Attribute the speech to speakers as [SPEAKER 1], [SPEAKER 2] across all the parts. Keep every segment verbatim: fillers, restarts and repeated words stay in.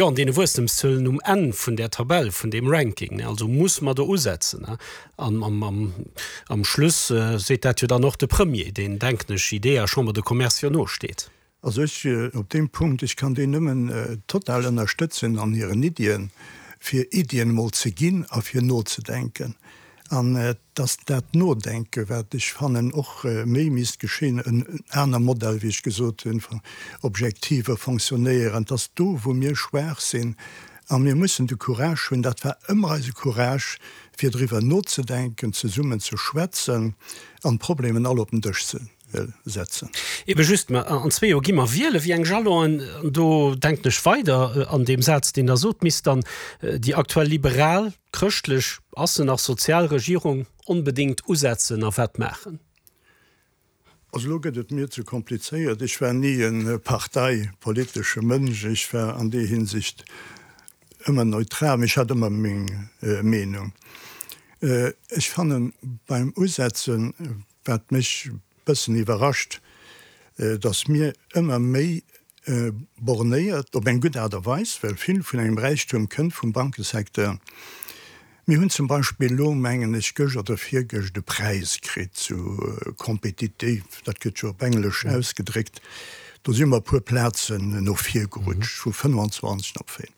[SPEAKER 1] Jo, an deene Wuesstemszuelen um Enn vun där Tabell, vun deem Ranking. Also muss mer do usetzen. An am Schluss seet dat jo dann och de Premier, deen, denken ech, IDEA, Chambre de Commerce jo nosteet.
[SPEAKER 2] Also ech op deem Punkt, ech kann déi nëmmen total ënnerstëtzen an hiren Iddien, fir Iddien emol ze ginn a fir nozedenken. An dass dat Nodenken, wat ech fannen och méi misst geschéien, en aner Modell, wéi ech gesot hunn, objektiver fonctionnéieren, dass do, wou mir schwaach sinn, a mir mussen de Courage hunn, dat war ëmmer eise Courage, fir driwwer nozedenken, zesummen ze schwätzen an d'Problemen all op den Dësch ze setzen.
[SPEAKER 1] Ebe just, mä an zwee Joer gi mer wielen, wéi eng Jalonen, an do denken ech weider an deem Saz, deen Der sot, misst dann déi aktuell liberal, chrëschtlech, ass se nach sozial Regierung onbedéngt usetzen a wat maachen?
[SPEAKER 2] Also elo gëtt et mir ze komplizéiert. Ech war ni e parteipolitesche Mënsch. Ech war an deer Hinsicht ëmmer neutral, mee ech hat ëmmer meng Meenung. Ech fannen beim Usetzen, wat mech bëssen iwwerrascht, datt mir ëmmer méi bornéiert, op eng gutt Aart a Weis, well vill vun engem Räichtum kënnt vum Bankesecteur. Mir hunn zum Beispill elo, mengen ech, gëscht oder virgëscht e Präis kritt zu compétitif, dat gëtt jo op Englesch ausgedréckt, do si mer e puer Plazen no vir gerutscht, vu fënnwanzwanzeg op véier.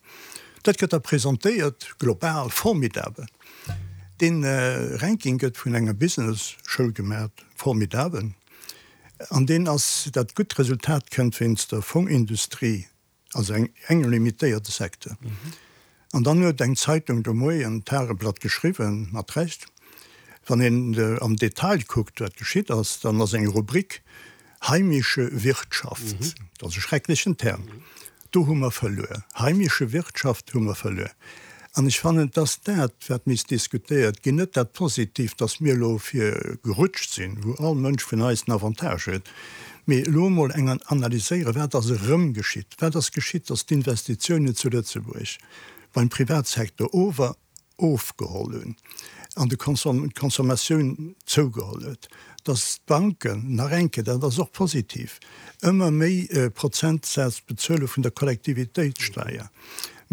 [SPEAKER 2] Dat gëtt da presentéiert global, formidabel. Dee Ranking gëtt vun enger Business-Schoul gemat, formidabel. An deen ass, dat gutt Resultat kënnt wéinst der Fongindustrie, also engem limitéierte Secteur. An dann huet eng Zeitung de Moien, d'Tageblatt, geschriwwen, mat Recht, wann een am Detail kuckt, wat geschitt ass, dann ass eng Rubrik heimische Wirtschaft, dat ass e schrecklechen Term, do hu mer verluer. Heimische Wirtschaft hu mer verluer. An ech fannen, et ass dat, wat misst diskutéiert ginn, net dat Positivt, dass mir elo vir gerutscht sinn, wou all Mënsch vun eis en Avantage huet, mee elo emol eng analyséieren, wat ass erëm geschitt, wat ass geschitt, dass d'Investitiounen zu Lëtzebuerg beim Privatsecteur ower ofgeholl hunn an de d'Consommatioun zougeholl huet, dass d'Banken, nach eng Kéier, dat ass och positiv, ëmmer méi Prozentsätz bezuele vun der Kollektivitéitssteier.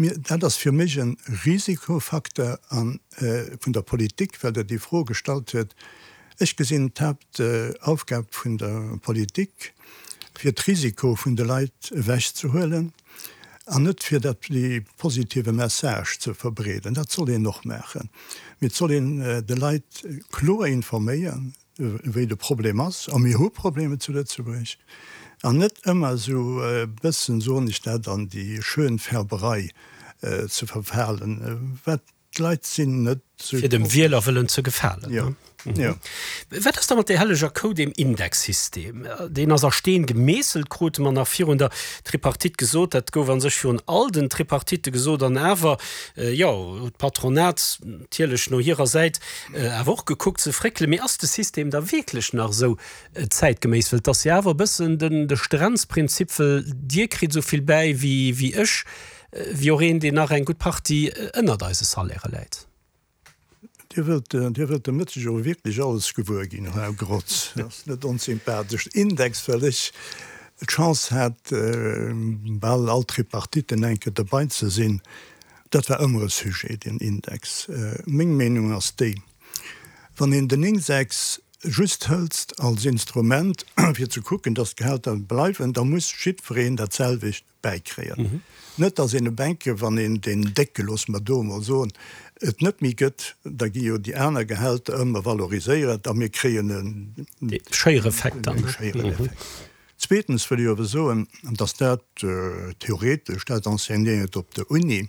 [SPEAKER 2] Mir, dat ass fir mech e Risikofacteur a vun der Politik, well Der déi Fro gestallt huet. Ech gesinn d'Haaptaufgab vun der Politik, fir d'Risiko vun de Leit ewechzehuelen an net fir dat dee positive Message ze verbreeden. Dat soll een och maachen, mee et soll een de Leit kloer informéieren, wéi de Problem ass. A mir hu Problemer zu Lëtzebuerg. An net ëmmer esou e bëssen, soen ech dat, an déi Schönfärberei ze verfalen, wat d'Leit sinn net
[SPEAKER 1] esou. Fir dem Wieler wëllen ze gefalen.
[SPEAKER 2] Jo, jo.
[SPEAKER 1] Wat ass da mat där helleger Kou, deem Indexsystem? Deen ass a Steen gemeesselt, krute mer nach virun der Tripartite gesot. Dat gouf a sech virun all den Tripartitte gesot. An awer, jo, huet d'Patronat natierlech no hirer Säit awer och gekuckt ze fréckelen. Mee ass de System da wierklech nach esou zäitgeméiss? Well et ass jo awer e bëssen den, de Strenzprinzip, well Dir kritt esou vill bäi wéi, wéi ech, wéi och een, deen nach eng gutt Partie ënnert eise Salairë läit.
[SPEAKER 2] Dir wëllt, Dir wëllt de Mëtteg awer wierklech alles gewuer ginn, Här Grotz. Dat ass net onsympathesch. Index, well ech d'Chance hat, bal all Tripartiten eng Kéier derbei ze sinn, dat war ëmmer e Sujet, deen Index. Meng Meenung ass déi, wann een den Index just hëlst als Instrument, fir ze kucken, dass d'Gehälter bleiwen, da muss jiddwereen dat selwecht bäikréien. Net, dass een e Bänke, wann een deen Décke, loosse mer do emol soen, et net méi gëtt, da gi jo déi aner Gehälter ëmmer valoriséiert a mir kréien
[SPEAKER 1] e Schéiereffekt dann.
[SPEAKER 2] Schéiereffekt. Zweetens wëll ech awer soen, dass dat theoretesch, dat enseignéiert op der Uni,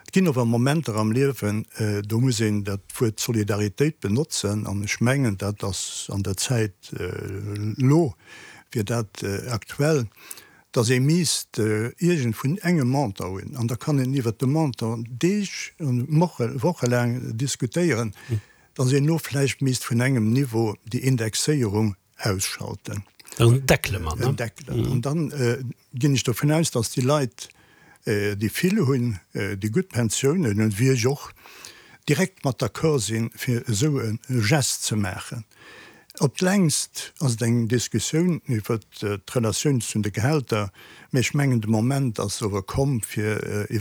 [SPEAKER 2] et ginn awer Momenter am Liewen, do muss een dat Wuert Solidaritéit benotzen an ech mengen, dat ass an der Zäit elo, wier dat aktuell, dass ee misst iergend vun engem Montant hunn, an da kann een iwwert de Montant Deeg an wochelaang diskutéieren, dass een elo vläicht misst vun engem Niveau déi Indexéierung ausschalten.
[SPEAKER 1] En deckele man, ne?
[SPEAKER 2] En deckelen. An dann ginn ech dovun aus, dass déi Leit, déi vill hunn, déi gutt Pensiounen hunn, wéi ech och, direkt mat d'accord sinn, fir esou e Gest ze maachen. Op d'längst ass et eng Diskussioun iwwert d'Relatioun zu de Gehälter, mä ech mengen, de Moment ass ower komm, fir iwwer.